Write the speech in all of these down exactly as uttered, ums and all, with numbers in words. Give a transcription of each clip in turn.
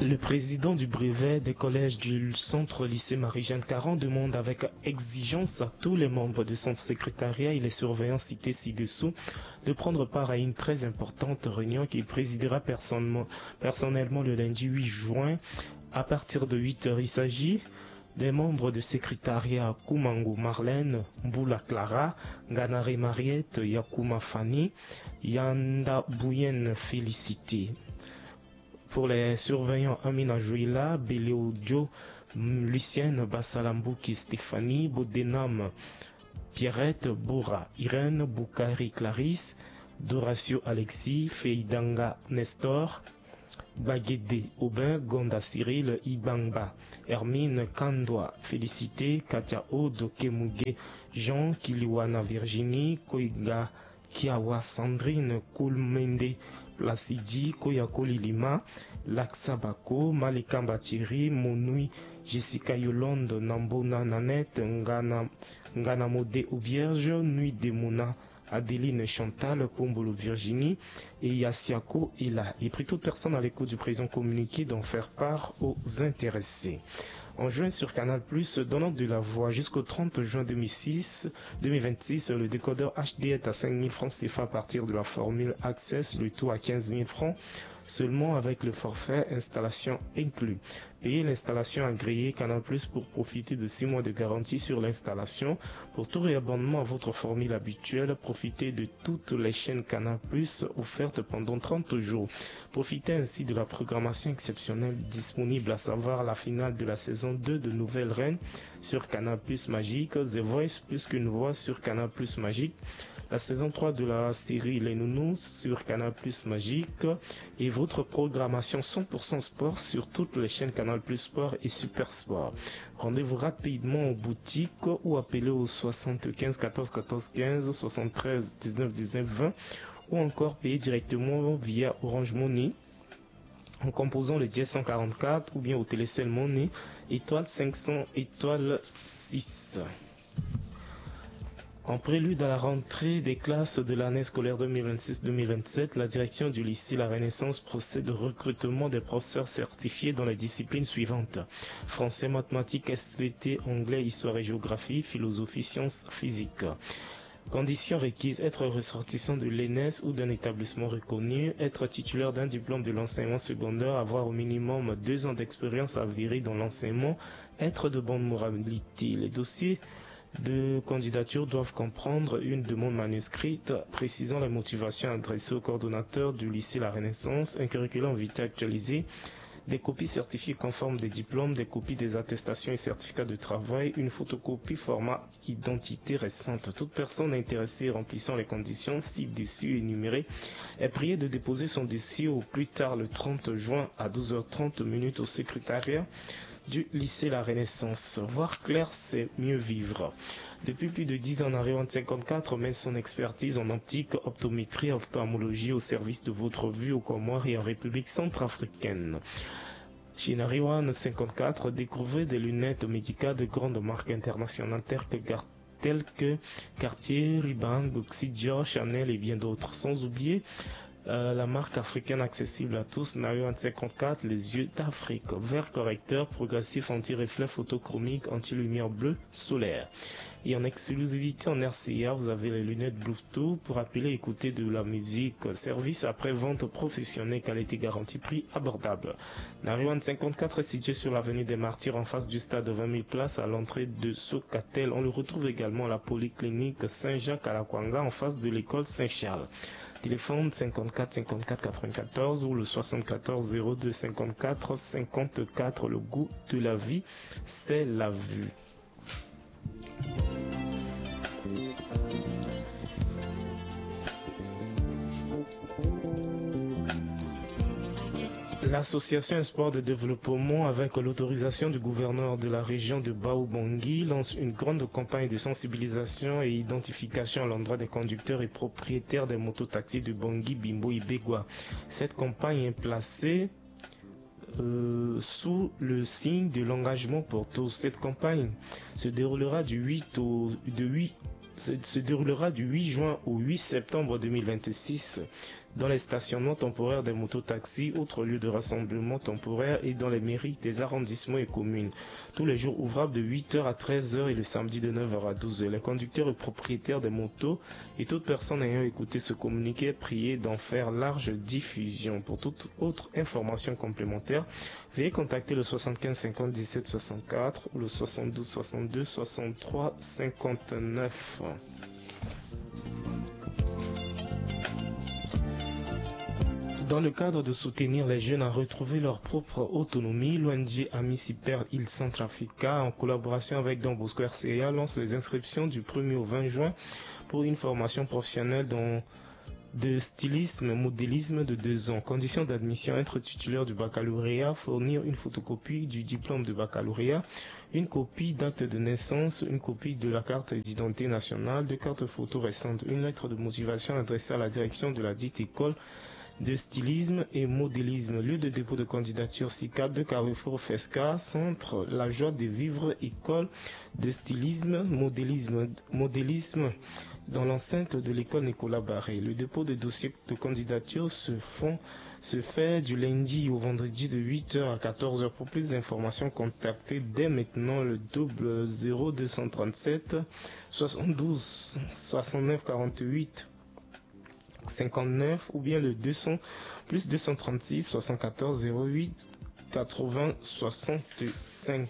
Le président du brevet des collèges du centre lycée Marie-Jeanne Caron demande avec exigence à tous les membres de son secrétariat et les surveillants cités ci-dessous de prendre part à une très importante réunion qu'il présidera personnellement, personnellement le lundi huit juin à partir de huit heures. Il s'agit des membres de secrétariat Kumango Marlène, Mbula Clara, Ganare Mariette, Yakuma Fanny, Yanda Bouyen Félicité. Pour les surveillants, Amina Jouila, Beleo Joe, Lucienne Bassalambuki Stéphanie, Bodenam Pierrette, Bora Irène, Boukari Clarisse, Doratio Alexis, Feidanga Nestor, Bagede Aubin, Gonda Cyril, Ibangba Hermine, Kandwa Félicité, Katia Aude, Kemuge Jean, Kiliwana Virginie, Koiga Kiawa Sandrine, Kulmende Placidi, Koyako Lilima, Laksa Bako, Malekamba Thierry, Monui Jessica Yolande, Nambona Nanette, Ngana, Ngana Mode Auberge, Nuit de Mona, Adeline Chantal, Pombolo Virginie et Yassiako Ela. Et prie toute personne à l'écoute du présent communiqué d'en faire part aux intéressés. En juin sur Canal Plus, donnant de la voix jusqu'au trente juin deux mille six, deux mille vingt-six, le décodeur H D est à cinq mille francs C F A à partir de la formule Access, le tout à quinze mille francs seulement avec le forfait installation inclus. Payez l'installation agréée Canal Plus pour profiter de six mois de garantie sur l'installation. Pour tout réabonnement à votre formule habituelle, profitez de toutes les chaînes Canal Plus offertes pendant trente jours. Profitez ainsi de la programmation exceptionnelle disponible, à savoir la finale de la saison deux de Nouvelle Reine sur Canal Plus Magique, The Voice plus qu'une voix sur Canal Plus Magique, la saison trois de la série Les Nounous sur Canal Plus Magique et votre programmation cent pour cent sport sur toutes les chaînes Canal Plus Sport et Super Sport. Rendez-vous rapidement aux boutiques ou appelez au soixante-quinze quatorze quatorze quinze, soixante-treize dix-neuf dix-neuf vingt ou encore payez directement via Orange Money en composant le dièse cent quarante-quatre ou bien au Télécel Money étoile cinq cents étoile six. En prélude à la rentrée des classes de l'année scolaire deux mille vingt-six deux mille vingt-sept, la direction du lycée La Renaissance procède au recrutement des professeurs certifiés dans les disciplines suivantes : français, mathématiques, S V T, anglais, histoire et géographie, philosophie, sciences, physique. Conditions requises : être ressortissant de l'E N S ou d'un établissement reconnu, être titulaire d'un diplôme de l'enseignement secondaire, avoir au minimum deux ans d'expérience avérée dans l'enseignement, être de bonne moralité. Les dossiers de candidature doivent comprendre une demande manuscrite précisant les motivations adressées au coordonnateur du lycée La Renaissance, un curriculum vitae actualisé, des copies certifiées conformes des diplômes, des copies des attestations et certificats de travail, une photocopie format identité récente. Toute personne intéressée remplissant les conditions ci-dessus énumérées est priée de déposer son dossier au plus tard le trente juin à douze heures trente minutes au secrétariat du lycée La Renaissance. Voir clair, c'est mieux vivre. Depuis plus de dix ans, Nariwan cinquante-quatre met son expertise en optique, optométrie, ophtalmologie au service de votre vue aux Comores et en République centrafricaine. Chez Nariwan cinquante-quatre, découvrez des lunettes médicales de grandes marques internationales telles que Gar-, telles que Cartier, Ray-Ban, Gucci, Dior, Chanel et bien d'autres. Sans oublier, euh, la marque africaine accessible à tous, Nariwan cinquante-quatre, les yeux d'Afrique. Verre correcteur, progressif, anti-reflet, photochromique, anti-lumière bleue, solaire. Et en exclusivité en R C A, vous avez les lunettes Bluetooth pour appeler et écouter de la musique. Service après-vente professionnel, qualité garantie, prix abordable. Nariwan cinquante-quatre est situé sur l'avenue des Martyrs, en face du stade de vingt mille places, à l'entrée de Socatel. On le retrouve également à la polyclinique Saint-Jacques à Lakwanga, en face de l'école Saint-Charles. Téléphone cinquante-quatre cinquante-quatre quatre-vingt-quatorze ou le soixante-quatorze zéro deux cinquante-quatre cinquante-quatre. Le goût de la vie, c'est la vue. L'association Espoir de Développement, avec l'autorisation du gouverneur de la région de Baobangui, lance une grande campagne de sensibilisation et identification à l'endroit des conducteurs et propriétaires des mototaxis de Bangui, Bimbo et Begua. Cette campagne est placée euh, sous le signe de l'engagement pour tous. Cette campagne se déroulera du huit au, de huit, se, se déroulera du huit juin au huit septembre deux mille vingt-six. dans les stationnements temporaires des mototaxis, autres lieux de rassemblement temporaire et dans les mairies des arrondissements et communes. Tous les jours ouvrables de huit heures à treize heures et le samedi de neuf heures à douze heures. Les conducteurs et propriétaires des motos et toute personne ayant écouté ce communiqué est priée d'en faire large diffusion. Pour toute autre information complémentaire, veuillez contacter le soixante-quinze cinquante dix-sept soixante-quatre ou le soixante-douze soixante-deux soixante-trois cinquante-neuf. Dans le cadre de soutenir les jeunes à retrouver leur propre autonomie, l'O N G Amisi per il Centrafrica, en collaboration avec Don Bosco R C A, lance les inscriptions du premier au vingt juin pour une formation professionnelle dans de stylisme, modélisme de deux ans. Conditions d'admission : être titulaire du baccalauréat, fournir une photocopie du diplôme de baccalauréat, une copie d'acte de naissance, une copie de la carte d'identité nationale, deux cartes photo récentes, une lettre de motivation adressée à la direction de la dite école de stylisme et modélisme. Lieu de dépôt de candidature : six quatre deux carrefour Fesca, centre La Joie de Vivre, école de stylisme, modélisme, modélisme dans l'enceinte de l'école Nicolas Barré. Le dépôt de dossier de candidature se font se fait du lundi au vendredi de huit heures à quatorze heures. Pour plus d'informations, contactez dès maintenant le double zéro deux cent trente-sept soixante-douze soixante-neuf quarante-huit cinquante-neuf ou bien le deux cents plus deux cent trente-six soixante-quatorze zéro huit quatre-vingts soixante-cinq.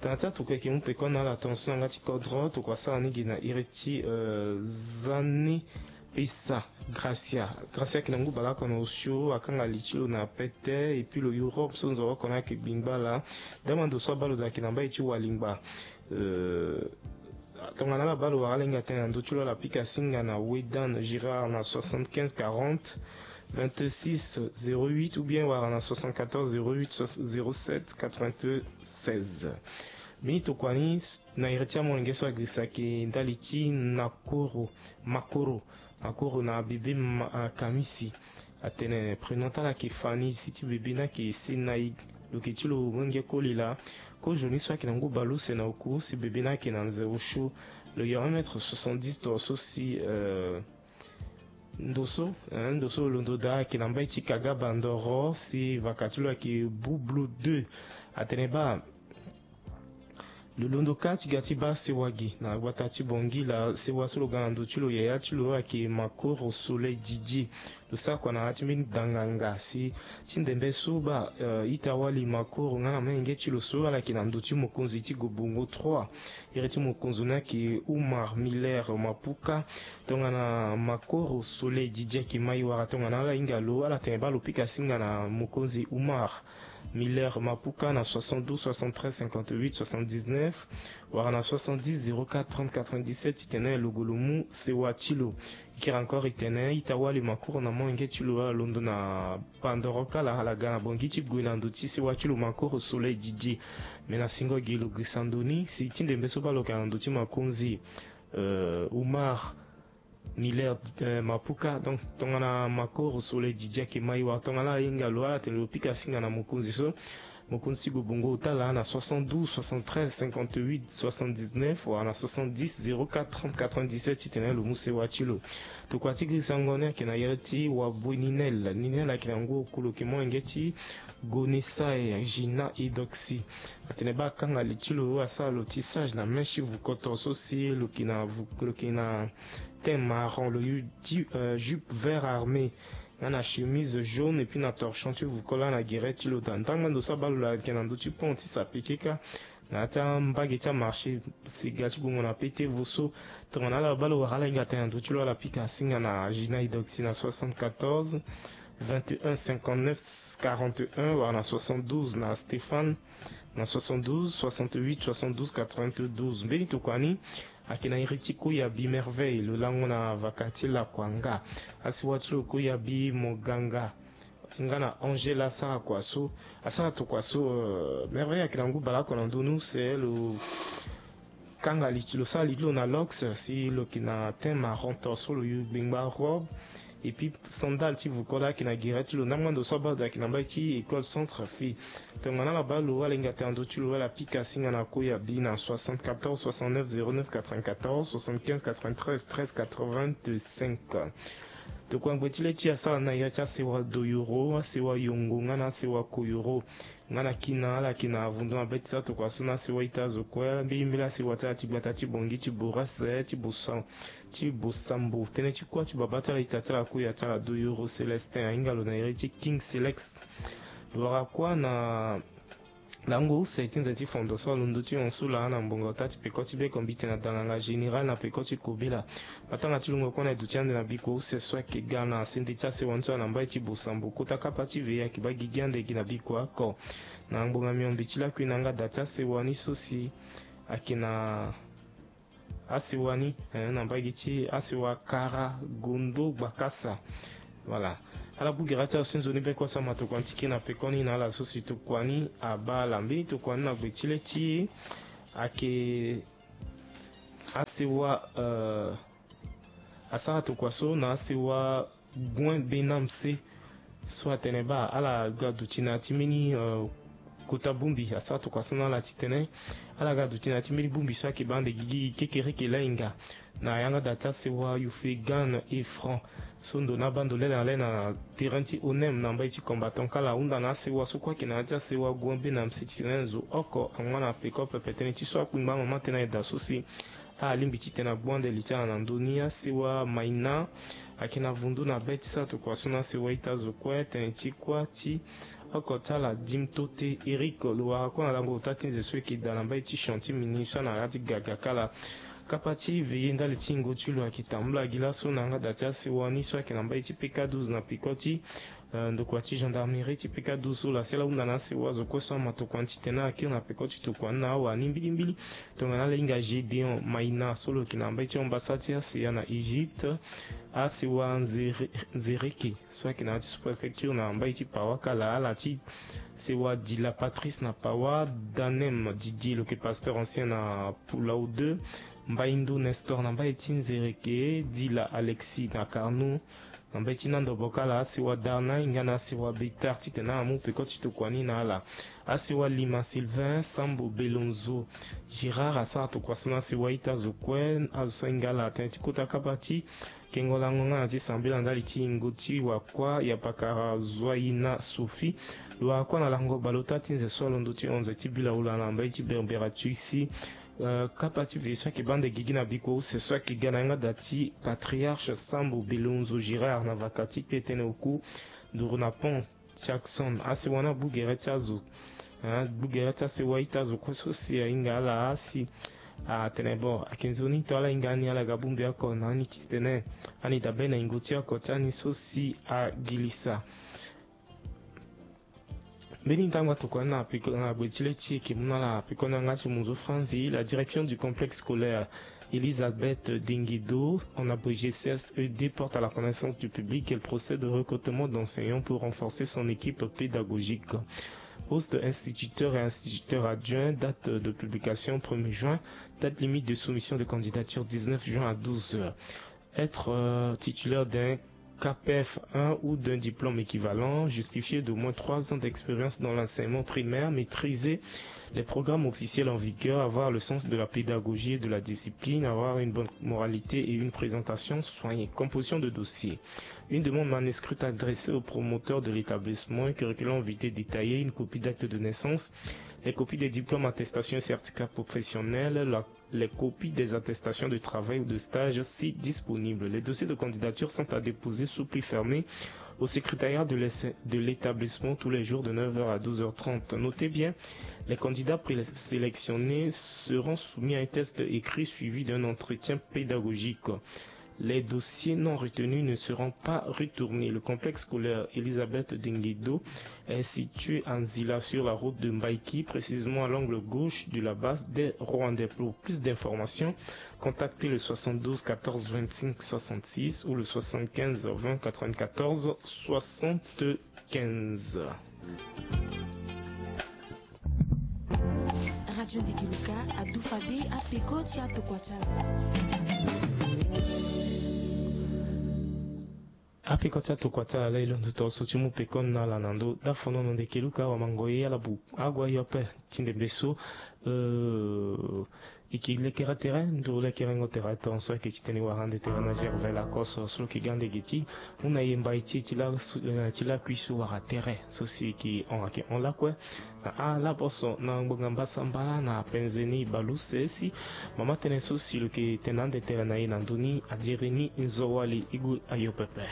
Tana ti atuka eke mu peko na ala tongaso na yanga ti kodro, tokua sara ni gi na iri ti, euh, Zani Pesa Gracia. Gracia ayeke na ngu baleoko na osio, akanga li ti lo na pete, et puis lo Europe so nzoni oko na ayeke gbingba laa. Dama ndo so abaa lo daa ayeke na mbai ti walingba. Euh, tongana ala baa lo wara ala hinga tënë na ndö ti lo, ala pika singa na Wedan Girard na soixante-quinze quarante vingt-six zéro huit ou bien wara na soixante-quatorze zéro huit zéro sept quatre-vingt-seize. Mbi tokua ni na iri ti amolenge so agirisa ayeke ndali ti Nakoro, Makoro, Makoro na bebe ma, ah, Kamisi. Atene prénom ti ala ayeke Fanny, si ti bebe ni ayeke Senaï. Lo yeke ti lo wenge koli laa. Kozoni so ayeke na ngu baleuse na oku, si bebe ni ayeke na nze osio. Lo yeke un mètre soixante-dix to so si, euh, ndo so, eh, ndo so lo londo daa ayeke na mbai ti Kaga Bandoro, si vaka ti lo ayeke Bublu deux. Atene baa lo londo kâ ti ga ti baa sewa ge na gbata ti Bangui laa. Sewa so lo ga na ndo ti lo yaya ti lo ayeke Makoro Soleil Didier. Lo sara kua na ya ti mbeni danganga si ti ndembe so baa, eh, ita-wali Makoro nga na molenge ti lo so ala yeke na ndo ti mokonzi ti Gobongo trois. Iri ti mokonzi ni ayeke Oumar Miller Mapuka. Tongana Makoro Soleil Didier ayeke mai wara tongana ala hinga lo, ala tene baa lo pika singa na mokonzi Oumar Miller Mapuka na soixante-douze soixante-treize cinquante-huit soixante-dix-neuf, wala na soixante-dix zéro quatre trente quatre-vingt-dix-sept titene lo gue lo mu sewa ti lo. E kiri encore e tene ita-wali Makoro na molenge ti lo ala londo na Bandoro kâ laa, ala ga na Bangui ti gue na ndo ti sewa ti lo Makoro Soleil Didier. Me na singo gi lo girisa ndo ni si ti ndembe so baa lo yeke na ndo ti mokonzi, euh, Oumar Miller, euh, Mapuka. Donc tongana Makoro Soleil Didier ayeke mai wala tongana ala hinga lo, ala tene lo pika singa na mokonzi so, mokonzi ti Gobongo ota laa na soixante-douze soixante-treize cinquante-huit soixante-dix-neuf wala na soixante-dix zéro quatre trente quatre-vingt-dix-sept titene lo mu sewa ti lo. Tokua ti girisango ni ayeke na iri ti Wabue Ninel. Ninel ayeke na ngu oku, lo yeke molenge ti Gonesae Gina Edoxy. Atene baa akanga li ti lo, asara lo tissage na mèche ti vuko to so si lo yeke na vu-, lo yeke na teint marron, lo yu ti, euh, jupe vert armé nga na chemise jaune et puis na torchon ti vuko laa na gere ti lo daa. Ndangba ndo so abaa lo laa ayeke na ndö ti pont ti Sapekeka na ya ti ambage ti amarché sega ti gongo na pete vo so. Tongana ala baa lo wara ala hinga tënë na ndö ti lo, ala pika singa na Gina Edoxy na soixante-quatorze vingt et un cinquante-neuf quarante et un wala na soixante-douze na Stéphane na soixante-douze soixante-huit soixante-douze quatre-vingt-douze. Mbeni tokua ni ayeke na iri ti Koyabi Merveille, lo lango na vaka ti Lakuanga. Asewa ti lo Koyabi Moganga nga na Angèle asara kua so, asara tokua so, euh, Merveille ayeke na ngu baleoko na ndö ni use, lo kanga li ti lo, sara li ti lo na locks, si lo yeke na teint marron to so lo yu gbengba robe. Et puis sandale ti vuko laa ayeke na gere ti lo. Ndangba ndo so abaa lo daa ayeke na mbai ti école Centre Fille. Tongana ala baa lo, ala hinga tënë na ndö ti lo, ala pika singa na Koyabi na soixante-quatorze soixante-neuf zéro neuf quatre-vingt-quatorze soixante-quinze quatre-vingt-treize treize quatre-vingt-cinq. Tokua ngbe ti le ti asara na ya ti asewa Doyoro, asewa Yongo nga na asewa Koyoro. Nga na kina ala yeke na vundu na be ti sara tokua so na asewa ita azo kue, mbilimbili asewa ti ala ti gbata ti Bongi, ti Borase, ti Bosa, ti Bosambo, tënë ti kuâ ti babâ ti ala, ita ti ala, koya ti ala Doyoro Célestin, ahinga lo na iri ti King Selex. Lo wara kuâ na lango use ti nze ti fondo so alondo ti hon so laa na ngbonga ota ti peko ti beko mbi tene na danganga général na peko ti kobela. Matanga ti lungo kue na e duti ande na bikua use so ayeke ga na sende ti asewa ni so ayeke na mbai ti Bosambo, kota kapa ti ve ayeke baa gigi ande gi na bikua oko. Na ngbonga miombe ti lakui na yanga da ti asewa ni so si ayeke na asewa ni, eh, na mbage ti asewa Kara Gondo Gbakasa. Voilà. Ala bugera ti azo ti nzoni be kue so ama tokua ni ti ke na pekoni na ala so si tokua ni abaa ala mbeni tokua ni na gbe ti le ti e ayeke asewa, eh, asara tokua so na asewa Guen Benamse so atene baa ala ga duti na ya ti mbeni, eh, kota bongbi. Asara tokua so na ala titene ala ga duti na ya ti mbeni bongbi so ayeke baa ande gigi kekereke lainga na yanga da ti asewa Youfegane et Franc so ndo ni abaa ndo lele na le na terrain ti Onem na mbai ti Combattant. Kala ahunda na asewa so kue ayeke na ya ti asewa Guen Benamse titene zo oko angba na peko pepe tënë ti so akpingba amama tënë na e da so si alingbi titene agbu ande li ti ala na ndö ni. Asewa Maina ayeke na vundu na be ti sara tokua so na asewa ita zo kue tënë ti kuâ ti oko ti ala Dimtote Eric. Lo wara kue na lango ota ti nze so e yeke daa na mbai ti champ ti mini so ana ya ti gaga kala. Kapa ti veillée ndali ti yingo ti lo ayeke tambula gi laso na yanga da ti asewa ni so ayeke na mbai ti P K douze na peko ti, eh, ndokua ti gendarmerie ti P K douze so laa si ala hunda na asewa zo kue so ama tokua ni titene ala kiri na peko ti tokua ni na awa ni mbilimbili. Tongana ala hinga Gédéon Maïna so lo yeke na mbai ti ambassade ti A C A na Égypte. Asewa Nzere-, Nzereke so ayeke na ya ti sous-préfecture na mbai ti Pawa kala ala ti sewa Dila Patrice na Pawa, Danem Didier lo yeke pasteur ancien na Pulau deux, Mbaindo Nestor na mbai ti Nzereke, Dila Alexis na Carnot, na mbai ti Nandobo kala asewa Darna hinga na asewa Betar titene ala mu peko ti tokua ni na ala. Asewa Lima Sylvain, Sambo Belonzo Gérard asara tokua so na asewa ita zo kue, azo so ahinga ala tënë ti kota kapa ti kengo lango nga na ti sambela ndali ti yingo ti wakua ya pakara Zoaina Sophie. Lo wara kue na lango baleota ti nze so alondo ti onze ti bila ula na mbai ti Berbera Tuisi. Eh, kapa ti ve so ayeke baa ande gigi na bikua use so ayeke ga na yanga da ti patriarche Sambo Belonzo Gérard na vaka ti kpe tënë oku nduru na pont Jackson. Asewa ni abugere ti azo, eh, abugere ti asewa ita zo kue so si ahinga ala asi atene bon ayeke nzoni to ala hinga ani ala ga bongbi oko na ani titene ani dabe na yingo ti oko ti ani so si agilisa. Mbeni ntango atokua ni na peko, na gbe ti le ti e yeke mu na ala peko ni yanga ti munzu franzi. La direction du complexe scolaire Elisabeth Denguedo, en abrégé C S E D, porte à la connaissance du public qu'elle procède au recrutement d'enseignants pour renforcer son équipe pédagogique. Poste instituteur et instituteur adjoint, date de publication premier juin, date limite de soumission de candidature dix-neuf juin à douze heures. Être, euh, titulaire d'un CAPEF un ou d'un diplôme équivalent, justifié d'au moins trois ans d'expérience dans l'enseignement primaire, maîtriser les programmes officiels en vigueur, avoir le sens de la pédagogie et de la discipline, avoir une bonne moralité et une présentation soignée. Composition de dossier. Une demande manuscrite adressée au promoteur de l'établissement, un curriculum vitae détaillé, une copie d'acte de naissance, les copies des diplômes, attestations et certificats professionnels, la les copies des attestations de travail ou de stage si disponibles. Les dossiers de candidature sont à déposer sous pli fermé au secrétariat de l'ess-, de l'établissement tous les jours de neuf heures à douze heures trente. Notez bien, les candidats présélectionnés seront soumis à un test écrit suivi d'un entretien pédagogique. Les dossiers non retenus ne seront pas retournés. Le complexe scolaire Elisabeth Denguedo est situé à Nzila sur la route de Mbaïki, précisément à l'angle gauche de la base des Rwandais. Pour plus d'informations, contactez le soixante-douze quatorze vingt-cinq soixante-six ou le soixante-quinze vingt quatre-vingt-quatorze soixante-quinze. Radio Ndegeluka adu fade apeko ti atokua ti ala. Apeko ti atokua ti ala la e londo tongana so ti mu peko ni na ala na ndö. Dafonono Ndegeluka wamango ye ala bu ague ayo ape ti ndembe so. Euh, Eke lekere tere nduru lekerengo tere tonso eke ti tene wara ande tere na gervais lacoste so lo ke ga ande ge ti hunda ye mbai ti e ti lakui so wara tere so si eke hon ake hon lakue. Na ala poso na ngbonga mbasambala na penze ni baleuse si mama tënë so si lo ke tene ande tere na e na ndö ni adiri ni nzowali igu ayo pepe.